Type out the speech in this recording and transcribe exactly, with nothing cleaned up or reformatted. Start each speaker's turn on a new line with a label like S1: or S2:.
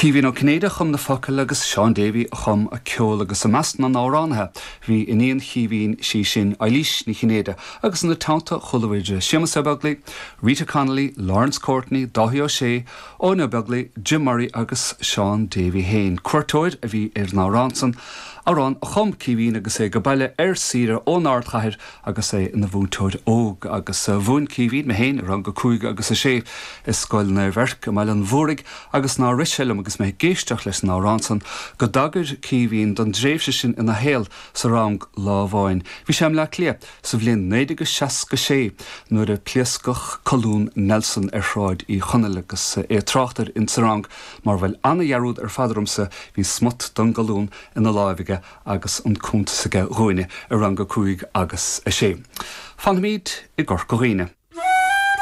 S1: Caoimhín Ó Cinnéide a chum na focail agus Seán Davey a chum an ceol agus i measc na n-amhránaithe bhí iníon Chaoimhín sí sin Eilís Ní Chinnéide agus ina teannta chuala muid Séamus Ó Beaglaoich, Rita Connolly, Lawrence Courtney, Dáithí Ó Sé, Eoin Ó Beaglaoich, Jim Murray agus Seán Davey féin. Cuairteoir a bhí ar an amhrán san, amhrán a chum Caoimhín agus é ag baile ar saoire ón ardchathair agus é ina mhúinteoir óg agus mhúin Caoimhín mé féin i rang a cúig agus a sé i Scoil Naomh Eirc i mBaile an Mhúraigh agus nár rith sé liom agus mé ag éisteacht leis an amhrán san go dtagair Caoimhín don dtréimhse sin ina shaol sa rang lá amháin. Bhí sé i mBleá Cliath sa bhliain naoi déag seasca sé nuair a pléascadh colún Nelson ar Shráid Uí Chonaill agus é ag trácht air insa rang mar bhfuil ana-dhearúd ar fad ormsa bhí smut den gcolún ina láimh aige agus an cuntas aige dhúinne i rang a cúig agus a sé. Fanfaimid i gCorca Dhuibhne.